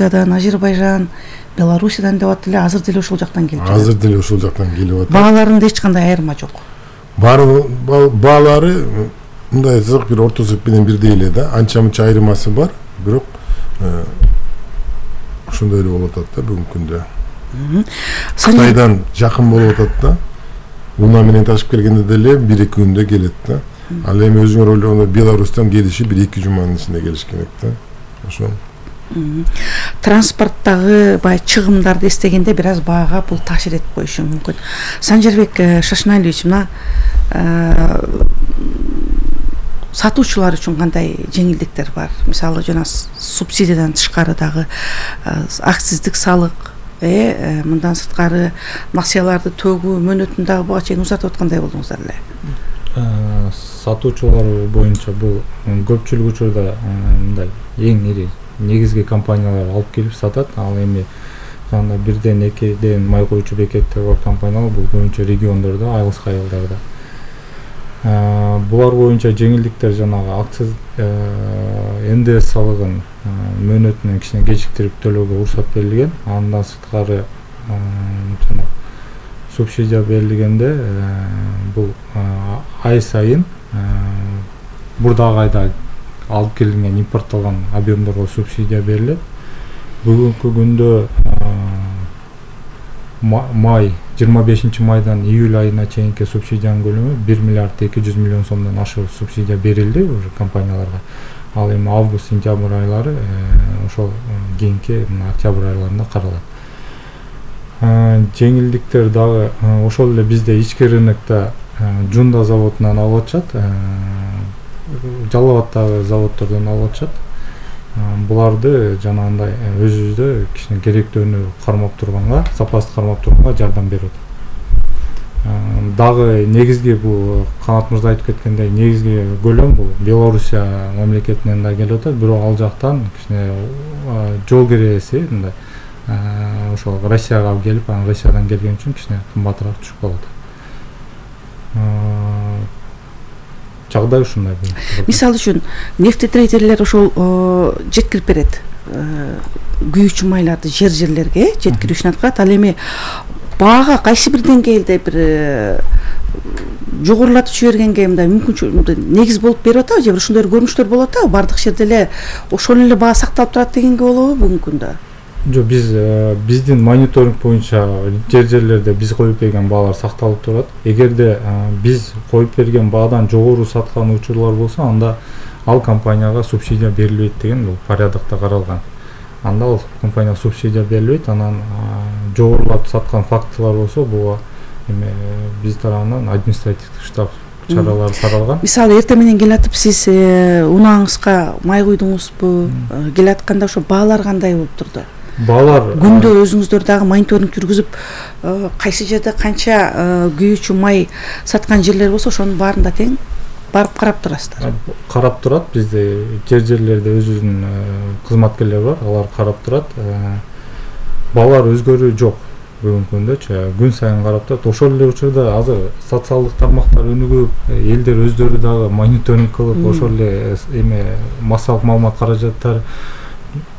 Грузиядан, Азербайжан, Белоруссиядан деп атат эле, азыр деле ушул жактан келип жатат. Азыр деле ушул жактан келип атат. Бааларында эч кандай айырма жок. Баалары мындай айтсак бир орто эсеп менен бирдей эле да, анча мынча айырмасы бар, бирок ошондой эле болуп атат да бүгүнкү күндө. Кытайдан жакын болуп атат да. Уна менен ташып келгенде деле 1-2 күндө келет да. Ал эми өзүңөр ойлогондо Беларустан келиши 1-2 жуманын ичинде келиш керек да. Ошо. Транспорттагы бай чыгымдарды эстегенде бир аз баага бул таасир этип коюшу мүмкүн. Санжарбек Шашналевич, мына сатуучулар үчүн кандай жеңилдиктер бар? Мисалы жана субсидиядан тышкары дагы акциздик салык, мындан сырткары насыяларды төгүү мөөнөтүн дагы буга чейин узартып аткандай болдуңуздар эле. Сатуучулар боюнча бул көпчүлүк учурда мындай эң ири негизги компаниялар алып келип сатат. Ал эми жана 1-2 май коюучу бекеттер бар компаниялар, бул боюнча региондордо, айылсыз айылдарда. Булар боюнча жеңилдиктер жанагы акциз НДС салыгын мөөнөтүнөн кичине кечиктирип төлөөгө уруксат берилген. Андан сырткары жана субсидия берилгенде бул ай сайын бурдагы айда алып келинген импортталган объемдорго субсидия берилет. Бүгүнкү күндө май 25 майдан июль айына чейинки субсидиянын көлөмү 1 миллиард 200 миллион сомдон ашык субсидия берилди уже компанияларга. Ал эми август, сентябрь айлары ошол кийинки октябрь айларында каралат. Жеңилдиктер дагы ошол эле бизде ички рынокто Жунда заводунан алып атышат, Жалал Абаддагы заводдордон алып атышат. Буларды жанагындай өзүбүздө кичине керектөөнү кармап турганга, сапасын кармап турганга жардам берип атат. Дагы негизги бул Канат мырза айтып кеткендей, негизги көлөм бул Белоруссия мамлекетинен да келип атат, бирок ал жактан кичине жол кирээси мындай ошол Россияга келип, анан Россиядан келген үчүн кичине кымбатыраак түшүп калат. Жагдай ушундай. Мисалы үчүн нефтетрейдерлер ошол жеткирип берет. Күйүүчү майларды жерлерге жеткирип ишин аткарат. Ал эми баага кайсы бир деңгээлде бир жогорулатып жибергенге мындай мүмкүнчүлүк негиз болуп берип атабы, же бир ушундай көрүнүштөр болуп атабы? Бардык жерде эле ошол эле баа сакталып турат дегенге болобу бүгүнкү күндө? Жок, биздин мониторинг боюнча жерлерде биз коюп берген баалар сакталып турат. Эгерде биз коюп берген баадан жогору саткан учурлар болсо, анда ал компанияга субсидия берилбейт деген бул порядокто каралган. Анда ал компанияга субсидия берилбейт, анан жогорулап саткан фактылар болсо, буга эми биз тарабынан административдик штраф чаралары каралган. Мисалы эртең менен келатып сиз унааңызга май куйдуңузбу? Келатканда ошо баалар кандай болуп турду? Баалар күндө өзүңүздөр дагы мониторинг жүргүзүп, кайсы жерде канча күйүүчү май саткан жерлер болсо, ошонун баарында тең барып карап турасыздар. Карап турат, бизде жерлерде өзүнүн кызматкерлери бар, алар карап турат. Баалар өзгөрүү жок бүгүнкү күндөчү, күн сайын карап турат. Ошол эле учурда азыр социалдык тармактар өнүгүп, элдер өздөрү дагы мониторинг кылып, ошол эле эме массалык маалымат каражаттар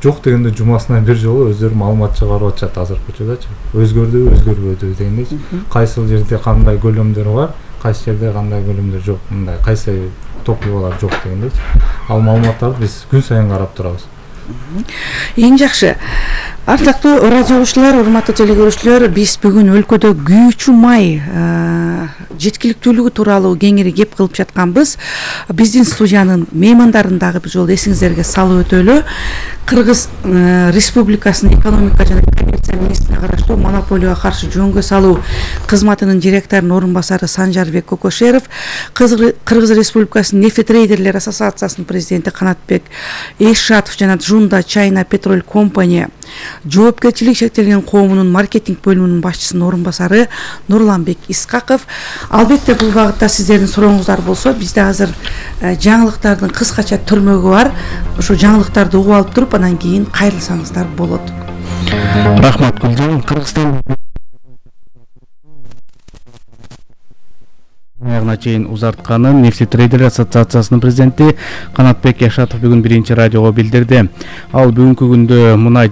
жок дегенде жумасына бир жолу өздөрү маалымат чыгарып атышат азыркы учурдачы. Өзгөрдүбү, өзгөрбөдү дегендейчи. Кайсы жерде кандай көлөмдөр бар, кайсы жерде кандай көлөмдөр жок, мындай кайсы топливалар жок дегендейчи. Ал маалыматтарды биз күн сайын карап турабыз. Эң жакшы. Ардактуу радио угуучулар, урматтуу телекөрүүчүлөр, биз бүгүн өлкөдө күйүүчү май жеткиликтүүлүгү тууралуу кеңири кеп кылып жатканбыз. Биздин студиянын меймандарын дагы бир жолу эсиңиздерге салып өтөлү. Кыргыз Республикасынын экономика жана коммерция министрине караштуу монополияга каршы жөнгө салуу кызматынын директорунун орун басары Санжарбек Кокошеров, Кыргыз Республикасынын нефтетрейдерлер ассоциациясынын президенти Канатбек Эшатов жана Жунда China Petrol Company жоопкерчилиги чектелген коомунун маркетинг бөлүмүнүн башчысынын орун басары Нурланбек Искаков. Албетте бул багытта сиздердин сурооңуздар болсо, бизде азыр жаңылыктардын кыскача түрмөгү бар. Ошо жаңылыктарды угуп алып туруп, анан кийин кайрылсаңыздар болот. Рахмат Гүлжан. Кыргызстан аяғына чейин узартканын нефтетрейдерлер ассоциациясынын президенти Канатбек Эшатов бүгүн биринчи радиого билдирди. Ал бүгүнкү күндө мунай